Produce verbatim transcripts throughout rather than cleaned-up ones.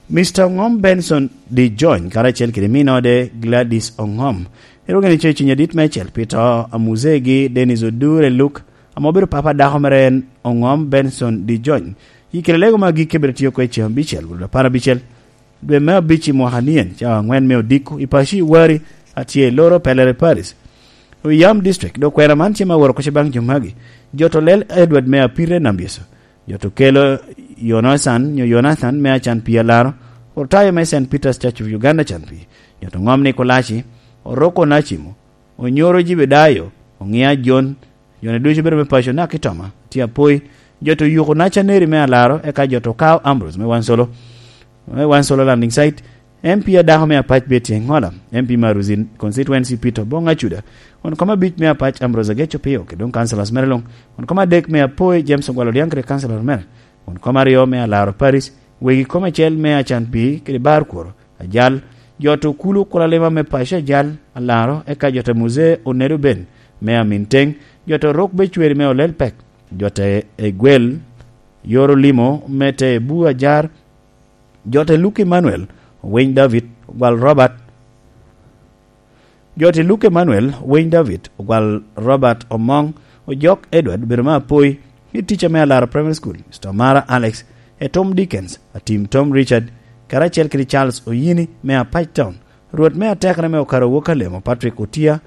Mister Ongom Benson D. Jony karacel kede minode Gladys Ongom erwogi ni coc cuny adit me cel pi to a muzegi Dennis Odure Luke, ame obedo papa dako mere en Ongom Benson D. Jony. I kede lego ma agikki bedo tio kwe ceng abicel gudo apar abicel dwe me abic i mwaka nien, cawa angwen me odiko i paco i Wari, atye i loro Pelere Paris, Oyam District. Dok kwena man tye ma woro koc baŋ jo magi: Joto lel Edward me Apire Nambyeso, joto kelo Yonathan nyo Yonathan me Acan Pii Alaro, Ortayo me Saint Peter's Church of Uganda Can Pii, joto Ŋom Nikolaci, Oroko Nacimo, Onyoro Jibedayo, Oŋia Jon, jone ducu bedo me paco naka i Toma, tye apoi, joto Yuko Nacaneri me Alaro, eka joto Kao Ambrose me Wansolo, me Wansolo Landing Site, M P adako me Apac Betty Engola, M P Maruzin Constituency Peter Obong Acuda, won kom abic me Apac Ambrose Ageco Pio, kede doŋ councillors mere luŋ, won kom adek me Apoi James Ogwal Odiaŋ kede councillor mere, won kom aryo me Alaro Paris, wegi kom acel me Acan Pii kede Bar Kworo, Ajal, joto Kulu Kulalima me paco Ajal, Alaro, eka joto Muzee Onedo Ben me Aminteng, joto Rok Becweri me Olel Pek, joto Egwel, Yoro Limo me Te Bu Ajar, joto Luke Emmanuel, Winy David, Ogwal Robert, joto Luke Emmanuel, Winy David, Ogwal Robert Omoŋ, Ojok Edward, bedo me Apoi, i tica me Alaro Primary School, Mister Mara Alex, Etom Dickens, Atim Tom Richard, karacel kede Charles Oyini me Apac Town, Rwot me Atekere me Okaro Wok Alemo Patrick Otia,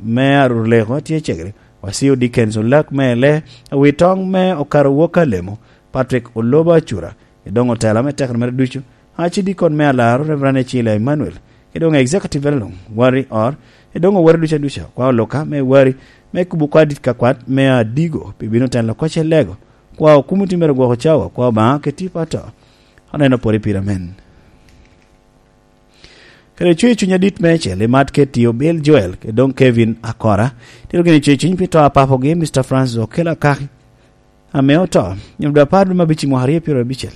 me Aruleko tye cegere, Wasio Dickens Olak me Ele, Awitoŋ me Okaro Wok Alemo Patrick Olobo Acura, edoŋ otela me tekere mere ducu, Acidikon me Alaro Reverend Ecila Emmanuel, edoŋ executive mere luŋ, Wari Or, edoŋ owere duca duca, kwa Oloka me Wari, me kubo kwa dit ka kwat me Adigo, pi bino telo koc Elego, kwa okumo ti mere gwoko cawa, kwa Obaŋa keti pato. Aneno pwod i pira men. Kede cuyo cuny adit me acel, imat keti Obil Joel, kede doŋ Kevin Akora, tito gini cuyo cuny pi to a papogi, Mister Francis Okello Akaki, ame oto, nyom dwe apar dwe me abic i mwaka aryo pyero abicel.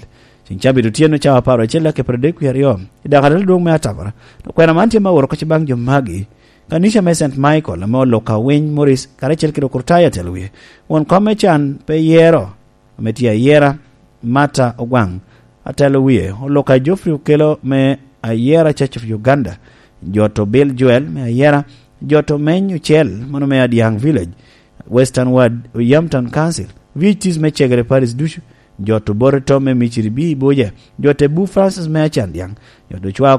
Ceng cabit otyeno cawa apar acel dakika pyero adek wie aryo, i dakal adwoŋ me atabara, dok kwena man tye ma oworo koc baŋ jo magi. Kanica me Saint Michael, ame Oloka Winy Morris, karacel kede Okurtayo atelo wie. Won kom me can pe yero, ame tye ayera, Martha Ogwaŋ, atelo wie, Oloka Geoffrey Okello me Ayera Church of Uganda, joto Bill Joel me Ayera, joto Meny Ocel, mano me Adiaŋ Village, Western Ward, Oyam Town Council, V H Ts me Cegere Paris ducu, joto Bote Tom me Miciri B Boja, joto Ebu Francis me Acandiaŋ, joto Cwa